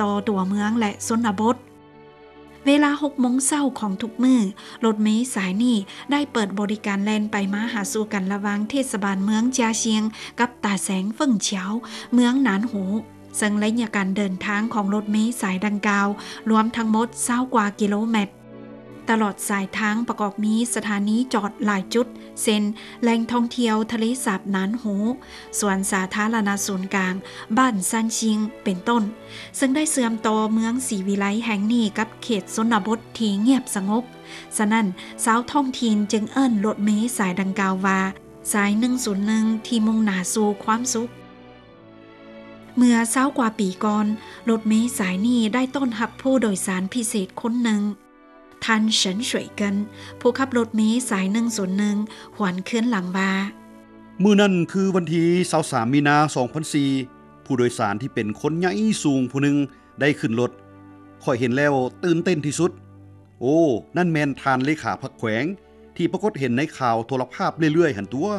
ຕໍ່ຕົວເມືອງ ແລະ ຊົນນະບົດ. ເວລາຫົກໂມງເຊົ້າຂອງທຸກມື້, ລົດເມສາຍນີ້ໄດ້ເປີດບໍລິການແລ່ນໄປມາຫາສູ່ກັນລະຫວ່າງເທດສະບານເມືອງຈາຊຽງ ກັບຕາແສງເຟິງຂຽວ ເມືອງໜານຫູ, ເຊິ່ງໄລຍະການເດີນທາງຂອງລົດເມສາຍດັ່ງກ່າວລວມທັງໝົດຊາວກວ່າກິໂລແມັດ. ຕະຫຼອດສາຍທາງປະກອບມີສະຖານີຈອດຫຼາຍຈຸດ ເຊັ່ນ ແຫຼ່ງທ່ອງທ່ຽວທະເລສາບໜານຫູ, ສວນສາທາລະນະສູນກາງບ້ານຊານຊິງ ເປັນຕົ້ນ, ເຊິ່ງໄດ້ເຊື່ອມຕໍ່ເມືອງສີວິໄລແຫ່ງນີ້ກັບເຂດຊົນນະບົດທີ່ງຽບສະຫງົບ. ສະນັ້ນ, ຊາວທ້ອງຖິ່ນຈຶ່ງເອີ້ນລົດເມສາຍດັ່ງກ່າວວ່າ ສາຍໜຶ່ງສູນໜຶ່ງ ທີ່ມຸ່ງໜ້າສູ່ຄວາມສຸກ. ເມື່ອຊາວກວ່າປີກ່ອນ, ລົດເມສາຍນີ້ໄດ້ຕ້ອນຮັບຜູ້ໂດຍສານພິເສດຄົນໜຶ່ງ. ທ່ານ ເສີນ ສວຍເກີນ ຜູ້ຂັບລົດເມສາຍໜຶ່ງສູນໜຶ່ງ ຫວນຄືນຫຼັງວ່າ, ມື້ນັ້ນຄືວັນທີຊາວສາມມີນາສອງພັນສີ່ ຜູ້ໂດຍສານທີ່ເປັນຄົນໃຫຍ່ສູງຜູ້ໜຶ່ງໄດ້ຂຶ້ນລົດ. ຂ້ອຍເຫັນແລ້ວຕື່ນເຕັ້ນທີ່ສຸດ. ໂອ້, ນັ້ນແມ່ນທ່ານເລຂາພັກແຂວງ ທີ່ປາກົດເຫັນໃນຂ່າວໂທລະພາບເລື້ອຍໆຫັ້ນຕົວະ.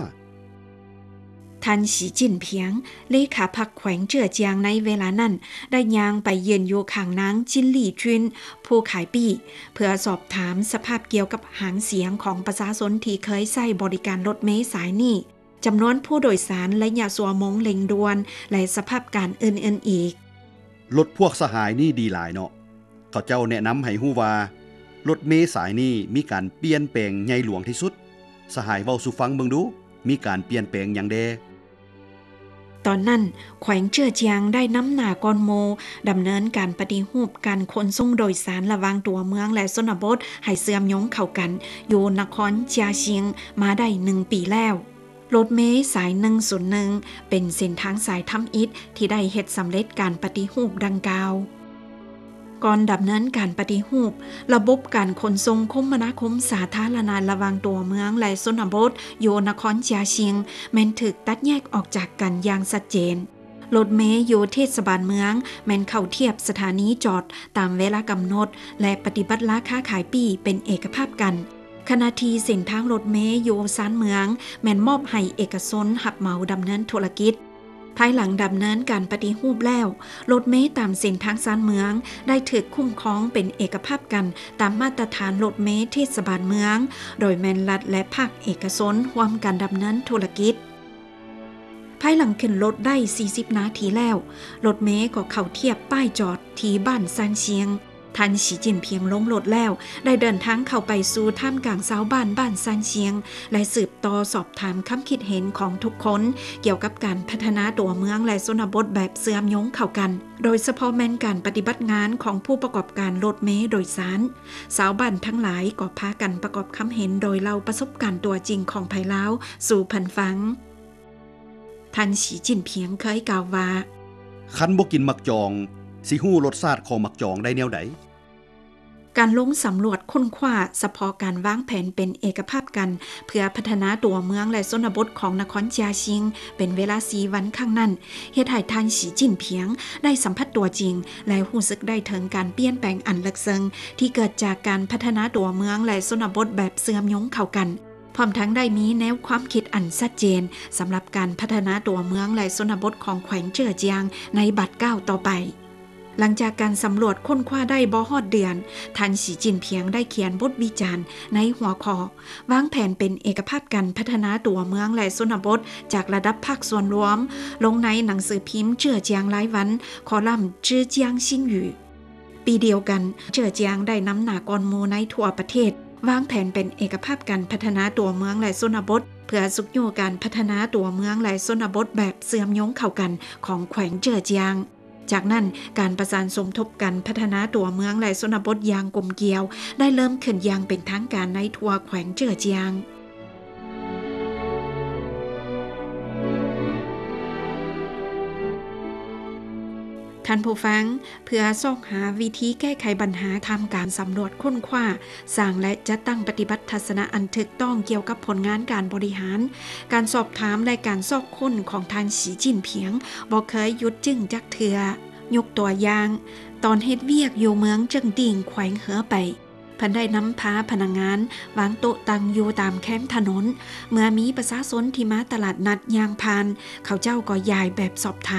ທ່ານ ສີຈິ້ນພຽງ ເລຂາພັກແຂວງເຈືອຈຽງໃນເວລານັ້ນ ໄດ້ຍ່າງໄປຢືນຢູ່ຂ້າງນາງ ຈິນລີຈຸນ ຜູ້ຂາຍປີ້ ເພື່ອສອບຖາມສະພາບກ່ຽວກັບຫາງສຽງຂອງປະຊາຊົນທີ່ເຄີຍໃຊ້ບໍລິການລົດເມສາຍນີ້, ຈຳນວນຜູ້ໂດຍສານ, ໄລຍະຊົ່ວໂມງເລັ່ງດ່ວນ ແລະ ສະພາບການອື່ນໆອີກ. ລົດພວກສະຫາຍນີ້ດີຫຼາຍເນາະ. ເຂົາເຈົ້າແນະນຳໃຫ້ຮູ້ວ່າ ລົດເມສາຍນີ້ມີການປ່ຽນແປງໃຫຍ່ຫຼວງທີ່ສຸດ. ສະຫາຍເວົ້າສູ່ຟັງເບິ່ງດູ, ມີການປ່ຽນແປງຫຍັງແດ່? ຕອນນັ້ນ, ແຂວງເຈືອຈຽງໄດ້ນຳໜ້າກ່ອນໝູ່ ດຳເນີນການປະຕິຮູບການຂົນສົ່ງໂດຍສານລະຫວ່າງຕົວເມືອງ ແລະ ຊົນນະບົດ ໃຫ້ເຊື່ອມໂຍງເຂົ້າກັນ ຢູ່ນະຄອນຈຽຊິງມາໄດ້ໜຶ່ງປີແລ້ວ. ລົດເມສາຍໜຶ່ງສູນໜຶ່ງ ເປັນເສັ້ນທາງສາຍທຳອິດທີ່ໄດ້ເຮັດສຳເລັດການປະຕິຮູບດັ່ງກ່າວ. ກ່ອນດຳເນີນການປະຕິຮູບ, ລະບົບການຂົນສົ່ງຄົມມະນາຄົມສາທາລະນະລະຫວ່າງຕົວເມືອງ ແລະ ຊົນນະບົດ ຢູ່ນະຄອນຈຽຊິງ ແມ່ນຖືກຕັດແຍກອອກຈາກກັນຢ່າງຊັດເຈນ. ລົດເມຢູ່ເທດສະບານເມືອງ ແມ່ນເຂົ້າທຽບສະຖານີຈອດຕາມເວລາກຳນົດ ແລະ ປະຕິບັດລາຄາຂາຍປີ້ເປັນເອກະພາບກັນ. ຂະນະທີ່ເສັ້ນທາງລົດເມຢູ່ຊານເມືອງ ແມ່ນມອບໃຫ້ເອກະຊົນຮັບເໝົາດຳເນີນທຸລະກິດ. ພາຍຫຼັງດຳເນີນການປະຕິຮູບແລ້ວ, ລົດເມຕາມເສັ້ນທາງຊານເມືອງ ໄດ້ຖືກຄຸ້ມຄອງເປັນເອກະພາບກັນຕາມມາດຕະຖານລົດເມເທດສະບານເມືອງ, ໂດຍແມ່ນລັດ ແລະ ພາກເອກະຊົນຮ່ວມກັນດຳເນີນທຸລະກິດ. ພາຍຫຼັງຂຶ້ນລົດໄດ້ສີ່ສິບນາທີແລ້ວ, ລົດເມກໍເຂົ້າທຽບປ້າຍຈອດທີ່ບ້ານຊານຊຽງ. ທ່ານ ສີຈິ້ນພຽງ ລົງລົດແລ້ວ ໄດ້ເດີນທາງເຂົ້າໄປສູ່ທ່າມກາງຊາວບ້ານບ້ານຊານຊຽງ ແລະ ສືບຕໍ່ສອບຖາມຄຳຄິດເຫັນຂອງທຸກຄົນກ່ຽວກັບການພັດທະນາຕົວເມືອງ ແລະ ຊົນນະບົດແບບເຊື່ອມໂຍງເຂົ້າກັນ, ໂດຍສະເພາະແມ່ນການປະຕິບັດງານຂອງຜູ້ປະກອບການລົດເມໂດຍສານ. ຊາວບ້ານທັງຫຼາຍກໍພາກັນປະກອບຄຳເຫັນໂດຍເລົ່າປະສົບການຕົວຈິງຂອງໃຜລາວສູ່ເພິ່ນຟັງ. ທ່ານ ສີຈິ້ນພຽງ ເຄີຍກ່າວວ່າ, ຄັນບໍ່ກິນໝາກຈອງ, ຊິຮູ້ລົດຊາດຂອງໝາກຈອງໄດ້ແນວໃດ? ການລົງສຳຫຼວດຄົ້ນຄວ້າສະເພາະການວາງແຜນເປັນເອກະພາບກັນ ເພື່ອພັດທະນາຕົວເມືອງ ແລະ ຊົນນະບົດຂອງນະຄອນເຈຍຊິງ ເປັນເວລາສີ່ວັນຄັ້ງນັ້ນ ເຮັດໃຫ້ທ່ານ ສີຈິ້ນພຽງ ໄດ້ສຳຜັດຕົວຈິງ ແລະ ຮູ້ສຶກໄດ້ເຖິງການປ່ຽນແປງອັນເລິກເຊິ່ງ ທີ່ເກີດຈາກການພັດທະນາຕົວເມືອງ ແລະ ຊົນນະບົດແບບເຊື່ອມໂຍງເຂົ້າກັນ. ພ້ອມທັງໄດ້ມີແນວຄວາມຄິດອັນຊັດເຈນສຳລັບການພັດທະນາຕົວເມືອງ ແລະ ຊົນນະບົດຂອງແຂວງເຈີອຈຽງໃນບາດກ້າວຕໍ່ໄປ. ຫຼັງຈາກການສຳຫຼວດຄົ້ນຄວ້າໄດ້ບໍ່ຮອດເດືອນ, ທ່ານ ສີຈິ້ນພຽງ ໄດ້ຂຽນບົດວິຈານໃນຫົວຂໍ້ ວາງແຜນເປັນເອກະພາບການພັດທະນາຕົວເມືອງ ແລະ ຊົນນະບົດ ຈາກລະດັບພາກສ່ວນລວມ ລົງໃນໜັງສືພິມເຈີອຈຽງລາຍວັນ ຄອລັມ ເຈີອຈຽງຊິນຫຍື. ປີດຽວກັນ, ເຈີອຈຽງໄດ້ນຳໜ້າກ່ອນໝູ່ໃນທົ່ວປະເທດ ວາງແຜນເປັນເອກະພາບການພັດທະນາຕົວເມືອງ ແລະ ຊົນນະບົດ ເພື່ອຊຸກຍູ້ການພັດທະນາຕົວເມືອງ ແລະ ຊົນນະບົດແບບເຊື່ອມໂຍງເຂົ້າກັນຂອງແຂວງເຈີອຈຽງ. ຈາກນັ້ນ, ການປະສານສົມທົບກັນພັດທະນາຕົວເມືອງ ແລະ ຊົນນະບົດຢ່າງກົມກຽວ ໄດ້ເລີ່ມຂຶ້ນຢ່າງເປັນທາງການໃນທົ່ວແຂວງເຈີອຈຽງ. ທ່ານຜູ້ຟັງ, ເພື່ອຊອກຫາວິທີແກ້ໄຂບັນຫາທ່າມກາງສຳຫຼວດຄົ້ນຄວ້າ, ສ້າງ ແລະ ຈັດຕັ້ງປະຕິບັດທັດສະນະອັນຖືກຕ້ອງກ່ຽວກັບຜົນງານການບໍລິຫານ, ການສອບຖາມ ແລະ ການຊອກຄົ້ນຂອງທ່ານ ສີຈິ້ນພຽງ ບໍ່ເຄີຍຢຸດຢັ້ງຈັກເທື່ອ. ຍົກຕົວຢ່າງ, ຕອນເຮັດວຽກຢູ່ເມືອງເຈິງຕິງ ແຂວງເຮີໄປ, ເພິ່ນໄດ້ນຳພາພະນັກງານວາງໂຕະຕັ່ງຢູ່ຕາມແຄມຖະໜົນ. ເມື່ອມີປະຊາຊົນທີ່ມາຕະຫຼາດນັດຍ່າງຜ່ານ, ເຂົາເຈົ້າກໍຢາຍແບບສອບຖາມ